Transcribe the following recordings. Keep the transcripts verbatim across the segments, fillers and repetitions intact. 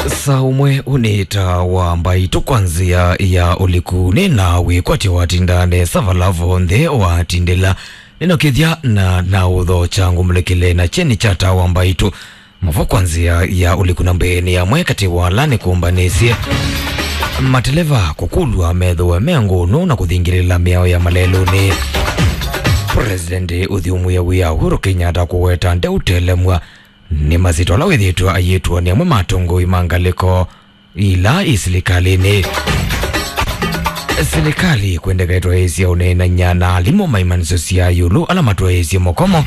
Saa ũmwe ũnĩta wa mbaitũ kwa nzĩa ya ũliku, nĩ na wĩkwatyo watinda nesa vala vonthe watindĩla. Nĩnokĩthya na, na ũthokya ngũmũlĩkĩle na kyeni kya taa wa mbaitũ. Mavo kwa nzĩa ya ũliku na mbeenĩ yamwe katĩ wa ala nĩkũmbanĩsye. Mateleva kũkulw'a methĩwe me ngũnũ na kũthingĩlĩla mĩao ya malelũnĩ. President ũthyũmũĩe wĩa Uhuru Kenyatta kũweta ndeũtelemw'a nĩ masyĩtwa ala wĩthĩĩtwe ayĩtwa nĩ amwe ma atongoi ma ngalĩko ila i silikalĩnĩ. Silikalĩ kwendekaĩtwe ĩsya ũneenany'a na alimũ ma imanyĩsyo sya ĩũlũ ala matwaĩĩsye mũkomo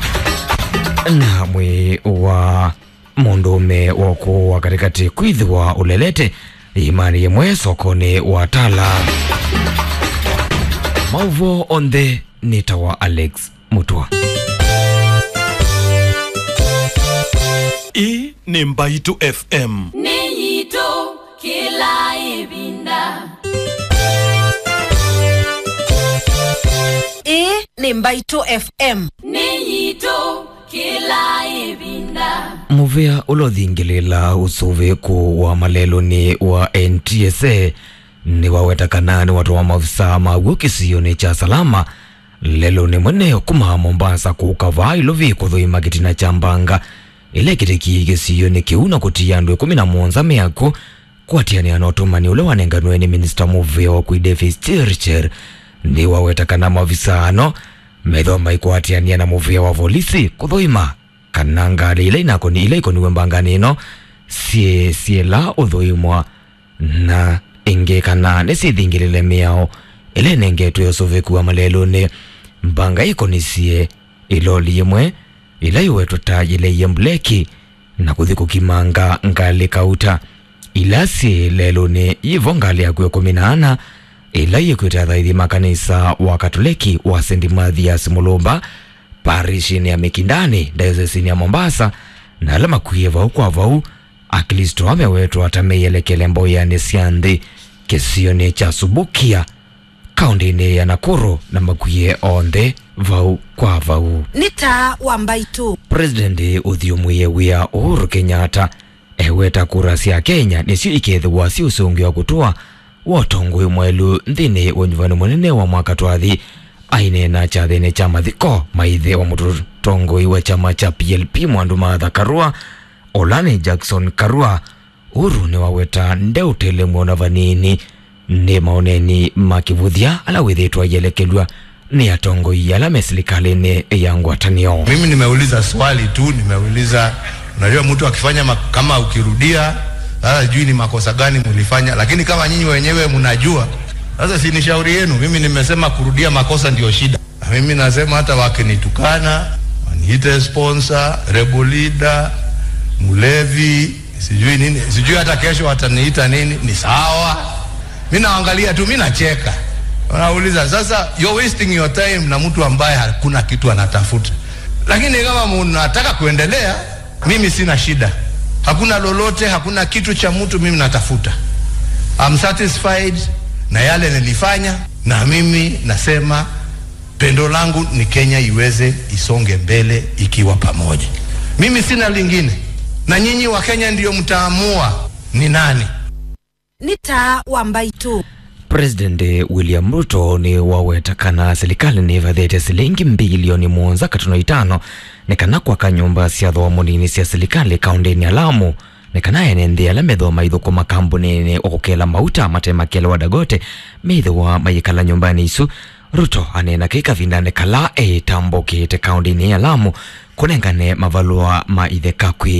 na mwĩĩ wa mũndũũme wa ũkũũ wa katĩkatĩ kwĩthĩwa ũlelete ĩĩmanĩ yĩmwe sokonĩ wa Tala. Maũvoo onthe nĩ ta wa Alex Mũtwa. Ĩĩ nĩ Mbaitũ F M. Nĩ yitũ kĩla ĩvinda. Ĩĩ nĩ Mbaitũ F M. Nĩ yitũ kĩla ĩvinda. Mũvĩa ũla ũthingĩlĩla ũsũvĩku wa malelũnĩ wa N T S A nĩwaweta kana nĩwatũma maovisaa maw'o kĩsionĩ kya Salama lelũnĩ mũnene kuma Mombasa kũka vaa Ilovi kũthũima kĩtina kya mbanga ĩla ĩkĩtĩkie kĩsionĩ kĩu na kũtia andũ ĩkũmi na mũonza me akw'ũ. Kũatĩanĩa na ũtũmani ũla wanenganwe nĩ minista mũvĩa wa ũkui Davis Chirchir, nĩwaweta kana maovisaa ano methĩwa maikwatĩanĩa na mũvĩa wa volisi kũthũima kana ngalĩ ila inakoni, ila ikoniwe mbanganĩ ĩno syĩ, syĩla ũthũimwa, na ĩngĩ kana nĩsyĩthingĩlĩle mĩao ĩla ĩnengetwe ũsũvĩku wa malelũnĩ. Mbanga ĩkonisye ĩloli yĩmwe ĩla yĩwetwe ta yĩleie mbuleki na kũthi kũkimanga ngalĩ kauta ila syĩ lelũnĩ. Yĩvo ngalĩ ya kw'o ĩkũmi na ana ĩla yĩkwĩte athaithi ma kanisa wa Katoleki wa Saint Mathias Mulumba, parishinĩ ya Mikindani, diocesinĩ ya Mombasa, na ala makwie vau kwa vau, Aklĩsto amewetwa ata meyelekele mboyanĩ sya nthĩ kĩsionĩ kya Subukia, kaũntĩnĩ ya Nakuru, na makwie onthe vau kwa vau. Nĩ taa wa Mbaitũ. President ũthyũmũĩe wĩa Uhuru Kenyatta eweta kura sya Kenya nĩsyo ikethĩwa syĩ ũsũngĩo wa kũtũa wa ũtongoi mwaĩlu nthĩnĩ wa ũnyuvani mũnene wa mwaka twathi. Aineena kyathĩnĩ kya mathiko ma ĩthe wa mũtongoi wa kyama kya P L P Mwandu Martha Karua, ũla nĩ Jackson Karua, Uhuru nĩwaweta ndeũtelemw'a ona vanini nĩ maoneni ma kĩvũthya ala wĩthĩĩtwe ayelekelw'a nĩ atongoi ala me silikalĩnĩ ya ngwatanĩo. Mimi nimeuliza swali tu, nimeuliza, unajua mtu akifanya ma-, kama ukirudia, sasa sijui ni makosa gani mulifanya, lakini kama nyinyi wenyewe mnajua, sasa si ni shauri yenu. Mimi nimesema kurudia makosa ndio shida. Na mimi nasema hata wakinitukana, waniite sponsor, rebel leader, mlevi, sijui nini, sijui hata kesho wataniita nini, ni sawa. Mi naangalia tu, mi nacheka. Wanauliza, sasa you're wasting your time na mtu ambaye hakuna kitu anatafuta. Lakini kama mnataka kuendelea, mimi sina shida. Hakuna lolote, hakuna kitu cha mtu mimi natafuta. I'm satisfied na yale nilifanya, na mimi nasema pendo langu ni Kenya iweze isonge mbele ikiwa pamoja. Mimi sina lingine. Na nyinyi wa Kenya ndio mtaamua ni nani. Nĩ taa wa Mbaitũ. President William Ruto nĩwaweta kana silikalĩ nĩvathĩte silingi mbilioni mũonza katuno itano nĩ kana kwaka nyũmba sya thooa mũnini sya silikalĩ kaũntĩnĩ ya Lamu, nĩ kana ene nthĩ ala methĩwa maithũkũma kambunĩnĩ wa kũkela mauta mate makelewa Dangote methĩwa mayĩkala nyũmbanĩ isu. Ruto aneena kĩĩ kavindanĩ kala etambũkĩte kaũntĩnĩ ya Lamu kũnengane mavalũa ma itheka kwĩ